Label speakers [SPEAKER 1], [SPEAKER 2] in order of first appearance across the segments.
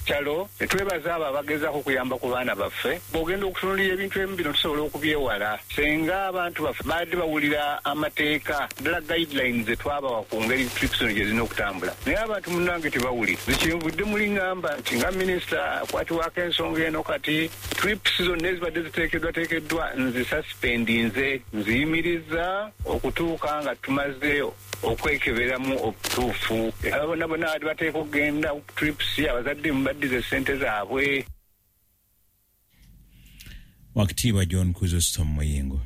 [SPEAKER 1] Chalo, netwebaza abo abagezaako okuyamba ku baana baffe. Bw'ogenda okutunuulira ebintu ebimu bino tusobola okubyewala senga abantu baffe baadde bawulira amateeka, ddala guidelines ze twabawa ku ngeri trips zino gye zirina okutambula, naye abantu munnange tebawulira. Nze kyenvudde muli ŋŋamba nti nga minisita akwatibwako ensonga eno kati trips zonna ezibadde ziteekeddwateekeddwa nzisuspendinze, nziyimirizza okutuuka nga tumaze okwekeberamu obutuufu. Abo bonna bonna abadde bateeka okugenda ku trips, abazadde mubaddize ssente zaabwe.
[SPEAKER 2] Wakitiibwa John Chrysostom Muyingo.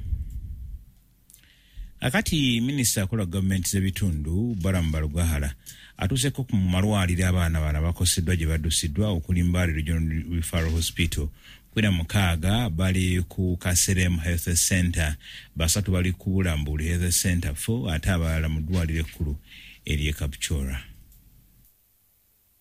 [SPEAKER 2] Akati minisita akola gavumenti z'ebitundu Balaam Barugahara atuuseeko ku malwaliro abaana bano abakoseddwa gye baddusiddwa okuli Mbale Regional Referral Hospital, 16 bali ku Kaserem Health Center, 3 bali ku Bulambuli Health Center 4 ate abalala mu ddwaliro ekkulu ery'e Kapchorwa.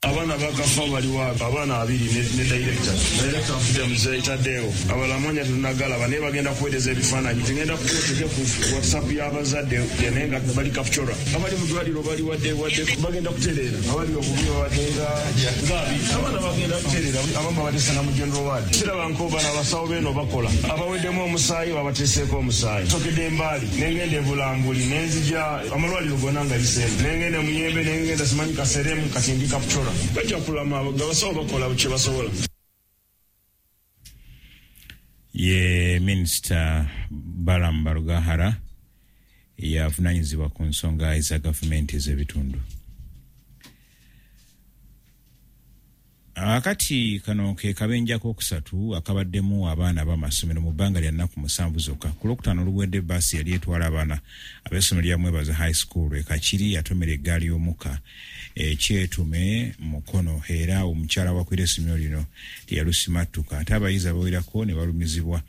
[SPEAKER 3] Abaana bakafa baliwo abaana 20 ne director. Director afudde Muzeeyi Tadeo. Abalala amannya tetunnagalaba naye bagenda kuweereza ebifaananyi. Tugenda kuteeka ku WhatsApp y'abazadde naye nga bali Kapchorwa. Abali mu ddwaliro bali wadde wadde bagenda kutereera. Abali obubi babadde nga 20. Abaana bagenda kutereera. Abamu babateesa na mu general ward. Siraba nko bano abasawo beeno bakola. Abaweddemu omusaayi babateeseeko omusaayi. Nsokedde Mbaali ne ngenda e Bulambuli ne nzija amalwaliro gonna nga yiseemu. Ne ngenda e Muyembe ne ngenda simanyi Kaseremu kati ndi Kapchorwa. Bajja kulama, abasawo bakola kye basobola.
[SPEAKER 2] Ye Minisita Balaam Barugahara yavunaanyizibwa ku nsonga eza gavumenti ez'ebitundu. Akati kano ke kabenja ak'okusatu akabaddemu abaana ab'amasomero mu bbanga lya nnaku 7 zokka. Ku Lwokutaano oluwedde bbaasi yali etwala abaana ab'essomero lya Mwebaza High School e Kakiri yatomera eggaali y'omukka e Kyetume Mukono era omukyala wakwira essomero lino teyalusimattuka ate abayizi abawerako ne balumizibwa.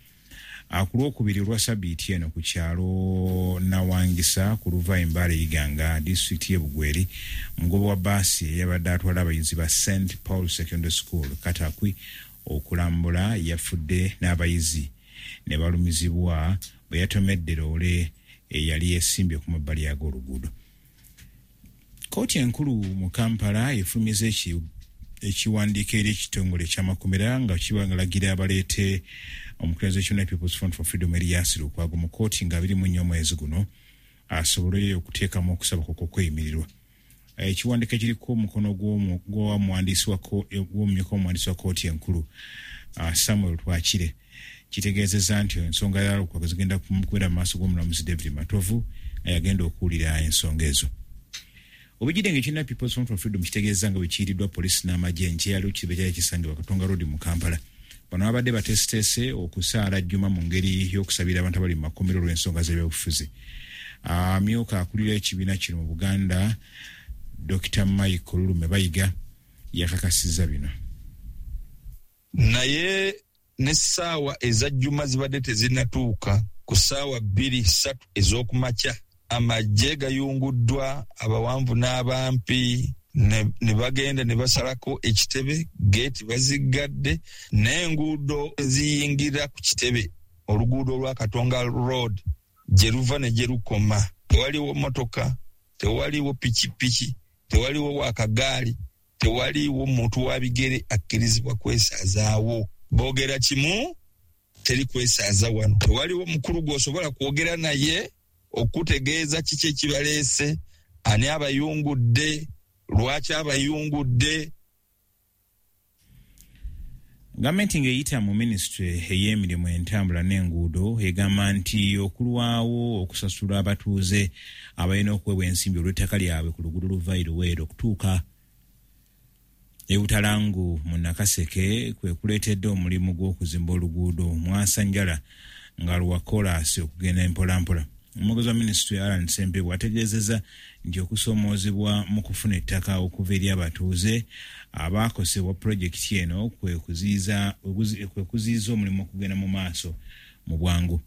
[SPEAKER 2] Ku Lwokubiri olwa sabbiiti eno ku kyalo Nawangisa ku luva e Mbale Iganga, disitulikiti y'e Bugweri, omugoba wa bbaasi eyabadde atwala abayizi ba St Paul Secondary School Katakwi okulambula yafudde n'abayizi ne balumizibwa bwe yatomedde loole eyali esimbye ku mabbali ag'oluguudo. Kkooti enkulu mu Kampala efulumiza ekiwandiiko eri ekitongole eky'amakomera nga kibalagira abaleete omukulembeze w'ekibiina People's Front for Freedom Erias Lukwago mu kkooti nga 24 omwezi guno asobole okuteekamu okusaba kwe okw'okweyimirirwa. Ekiwandiiko ekiriko omukono gw'omuwandiisi wa gw'omumyuka w'omuwandiisi wa kkooti enkulu Samuel Twakire kitegeezezza nti ensonga ya Lukwago zigenda kubeera mu maaso g'omulamuzi David Matovu nga yagenda okuwulira ensonga ezo. Obujjidde ng'ekibiina People's Front for Freedom kitegeezezza nga bwe kiyiriddwa poliisi n'amagye enkya kibe kyali kisangibwa Katonga Road mu Kampala. Bano babadde bateeseteese okusaala Juma mu ngeri y'okusabira abantu abali mu makomero olw'ensonga z'ebyobufuzi. Amyuka akulira ekibiina kino mu Buganda, Dr. Michael Lulume Bayiga yakakasizza bino.
[SPEAKER 4] Naye n'essaawa eza Juma zibadde tezinnatuuka ku ssaawa 2-3 ez'okumakya. Amagye gayunguddwa abawanvu n'abampi ne bagenda ne basalako ekitebe, geeti baziggadde n'enguudo eziyingira ku kitebe, oluguudo olwa Katonga Road gye luva ne gye lukoma. Tewaliwo mmotoka, tewaliwo pikipiki, tewaliwo wakagaali, tewaliwo muntu wa bigere akkirizibwa kwesazaawo. Boogera kimu, teri kwesaaza wano. Tewaliwo mukulu gw'osobola kwogera naye okutegeeza kiki ekibaleese, ani abayungudde, lwaki abayungudde.
[SPEAKER 2] Gavumenti ng'eyita mu minisitule ey'emirimu entambula n'enguudo egamba nti okulwawo okusasula abatuuze abalina okuweebwa ensimbi olw'ettaka lyabwe ku luguudo luva e Luweero okutuuka e Butalangu mu Nakaseke kwe kuleetedde omulimu gw'okuzimba oluguudo mwasanjala nga lwa koolaasi okugenda empolampola. Omwogezi wa minisitule Allan Ssempebwa ategeezezza nti okusoomoozebwa mu kufuna ettaka okuva eri abatuuze abaakosebwa pulojekiti eno kwe kuziyiza omulimu okugenda mu maaso mu bwangu.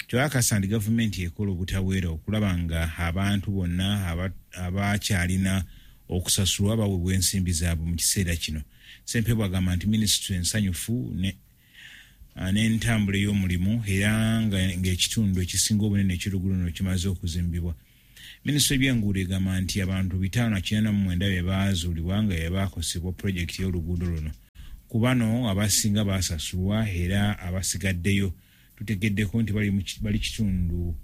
[SPEAKER 2] Kyakakasa nti gavumenti ekola obutaweera okulaba nga abantu bonna abakyalina okusasulwa baweebwa ensimbi zaabwe mu kiseera kino. Ssempebwa agamba nti minisitule ensanyufu n'entambula ey'omulimu era ng'ekitundu ekisinga obunene eky'oluguudo luno kimaze okuzimbibwa. Minisitule y'ebyenguudo egamba nti abantu 589 be baazuulibwa nga be baakosebwa pulojekiti y'oluguudo luno. Ku bano abasinga basasulwa era abasigaddeyo tutegeddeko nti bali kitundu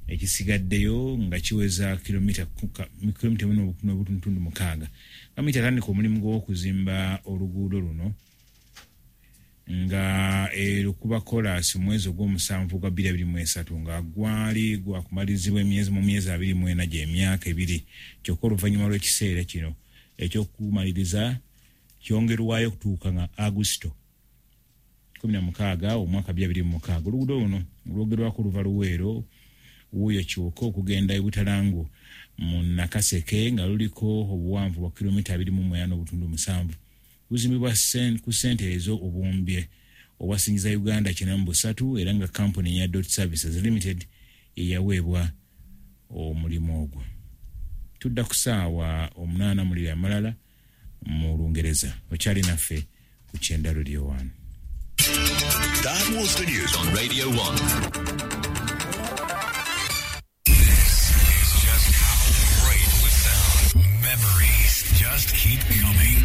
[SPEAKER 2] ekisigaddeyo nga kiweza kilomita 1.6. Gavumenti yatandika omulimu gw'okuzimba oluguudo luno nga erukuba koolaasi mu mwezi ogw'omusanvu gwa 2023 nga gwali gwakumalirizibwa mu myezi 24 gy'emyaka 2. Kyokka oluvannyuma lw'ekiseera kino ekyokumaliriza kyongerwayo okutuuka nga Agusito 16 omwaka 2026. Oluguudo luno lwogerwako luva Luweero wuuyo Kiwoko okugenda e Butalangu mu Nakaseke nga luliko obuwanvu bwa kilomita 28.7. Luzimbibwa ku ssente ezo obuwumbi obwasingiza Uganda 93 era nga kampuni ya Dot Services Limited eyaweebwa omulimu ogwo. Tudda ku ssaawa 8 muliro amalala mu Lungereza. Okyali naffe ku Kyenda Radio 1.
[SPEAKER 5] That was the news on Radio 1.
[SPEAKER 6] This is just how great we sound. Memories just keep coming.